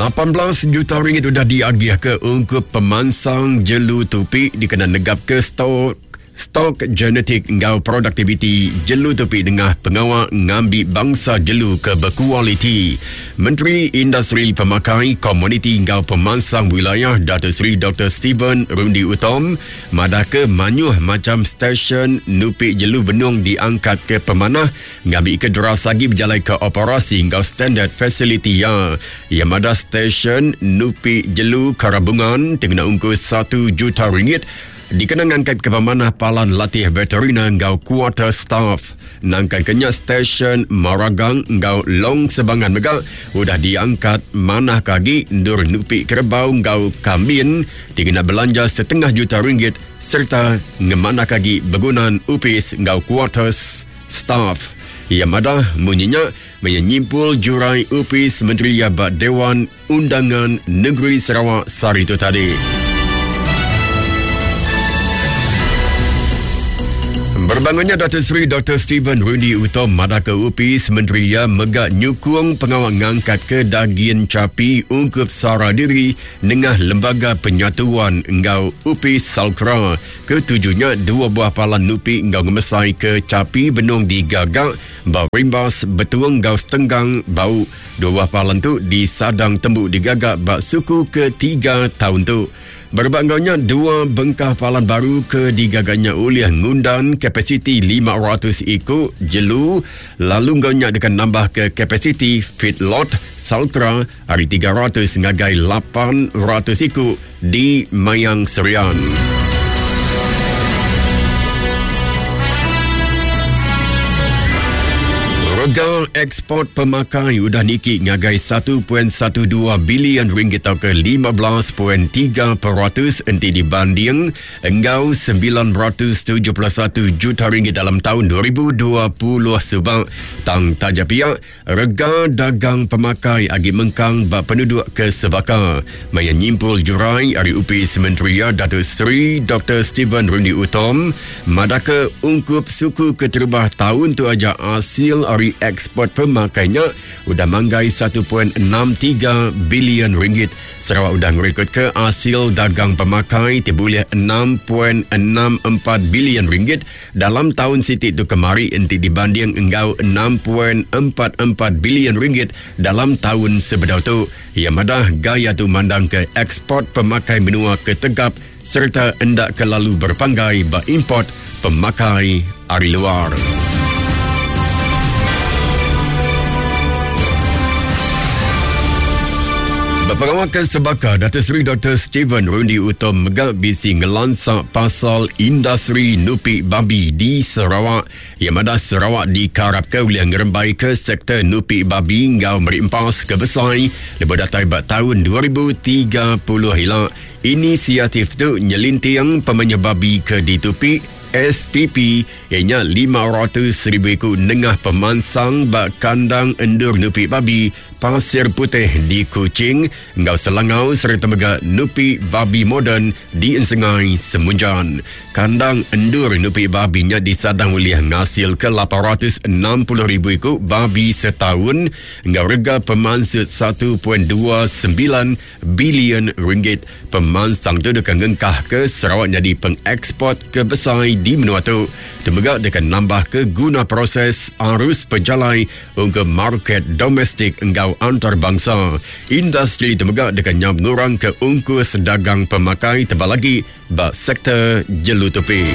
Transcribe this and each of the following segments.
18 juta ringgit udah diagihka ungkup pemansang jelu tupi dikena negapka stok Stok genetik enggau produktiviti jelu tupi nengah pengawa ngambi bangsa jelu ke bekualiti. Menteri Industri Pemakai, Komuniti enggau Pemansang Wilayah Dato Sri Doktor Stephen Rundi Utom madahka mayuh macham stesyen nupi jelu benung diangkatka pemanah ngambika deras agi bejalaika operasi enggau standard fasiliti iya. Iya madah stesyen nupi jelu Karabungan ti ngena ungkus satu juta ringgit Dikena ngangkatka pemanah palan latih veteriner enggau kuarter staf. Nangkanka nya stesyen Maragang enggau Long Sebangan mega udah diangkat manahka agi endur nupi kerebau enggau kambin ti ngena belanja setengah juta ringgit sereta ngemanahka agi begunan opis enggau kuarters staf. Iya madah munyi nya maya nyimpul jurai Opis Menteri iya ba Dewan Undangan Negeri Sarawak sehari tu tadi. Berbangunnya Datuk Seri Dr. Stephen Rundi Utom madah ke Upis Menteri iya mega nyukung pengawa ngangkat ke dagin chapi ungkup sara diri nengah Lembaga Penyatuan enggau Upis Salcra. Ketujunya dua buah palan nupi enggau ngemesai ke chapi benung digaga ba Rimbas, Betung enggau Setenggang, Bau. Dua buah palan tu disadang tembu digaga ba suku ketiga taun tu. Berebak enggau nya, dua bengkah palan baru ke digaga nya ulih ngundan kapasiti 500 iku jelu lalu enggau nya deka nambahka kapasiti feedlot Salcra ari 300 ngagai 800 iku di Mayang Serian. Rega eksport pemakai udah niki ngagai 1.12 bilion ringgit tauka 15.3% enti dibanding enggau 971 juta ringgit dalam taun 2020 suba. Tang taja pia, Rega dagang pemakai agi mengkang ba penuduk ke sebaka. Maya nyimpul jurai ari Opis Menteri iya Datuk Seri Doktor Stephen Rundi Utom madahka ungkup suku keterubah taun tu aja asil ari eksport pemakai nya udah manggai 1.63 bilion ringgit. Sarawak udah ngerekodka asil dagang pemakai ti bulih 6.64 bilion ringgit Dalam taun siti tu kemari enti dibanding enggau 6.44 bilion ringgit dalam taun sebedau tu, iya madah gaya tu mandangka eksport pemakai menua ke tegap sereta enda kelalu berepanggai ba import pemakai ari luar. Ba pengawa ke sebaka, Dato Sri Doktor Stephen Rundi Utom mega bisi ngelansa pasal industri nupi babi di Sarawak. Iya madah Sarawak dikarapka ulih ngerembaika sektor nupi babi enggau meri empas ke besai lebuh datai ba taun 2030 ila. Inisiatif tu nyelinting pemayuh babi ke ditupi SPP iya nya 500,000 iku nengah pemansang ba kandang endur nupi babi Pasir Puteh di Kuching enggau Selangau sereta mega nupi babi moden di Ensengai, Semunjan. Kandang endur nupi babi nya disadang ulih ngasilka 860,000 iku babi setaun enggau rega pemansut 1.29 bilion ringgit. Pemansang tu deka ngengkahka Sarawak nyadi pengeksport ke besai di menua tu. Tu mega deka nambahka guna proses arus pejalai ungkup market domestik enggau antarabangsa. Industri tu mega deka nyaup ngurangka ungkus dagang pemakai tebal agi ba sektor jelu tupi.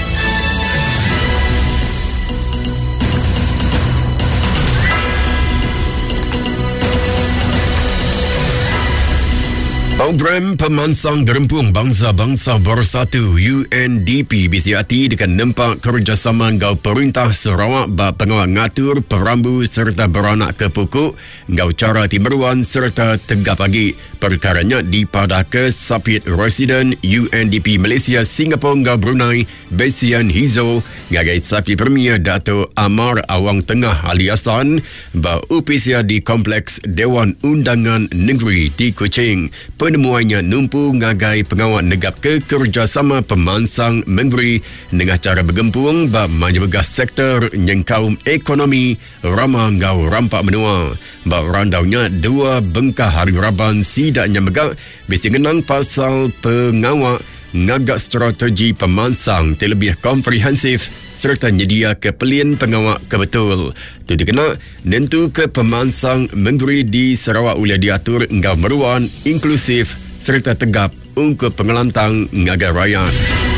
Program Pemansang Gerempung Bangsa-Bangsa Bersatu UNDP bisi ati deka nempa kerejasama enggau Perintah Sarawak ba pengawa ngatur perambu sereta beranakka puku enggau chara ti meruan sereta tegap agi. Perkara nya dipadahka Sapit Residen UNDP Malaysia, Singapore enggau Brunei, Besian Hizo ngagai Sapit Premier Datuk Amar Awang Tengah Ali Hassan ba opis iya di Kompleks Dewan Undangan Negeri di Kuching. Penemuai nya numpu ngagai pengawa negapka kerejasama pemansang mengeri nengah chara begempung ba mayuh mega sektor nyengkaum ekonomi, rama enggau rampa menua. Ba randau nya, dua bengkah ari raban sida nya mega bisi ngenang pasal pengawa ngaga strategi pemansang ti lebih komprehensif sereta nyediaka pelin pengawa ke betul. Tu dikena nentuka pemansang mengeri di Sarawak ulih diatur enggau meruan, inklusif sereta tegap ungkup pengelantang ngagai rayat.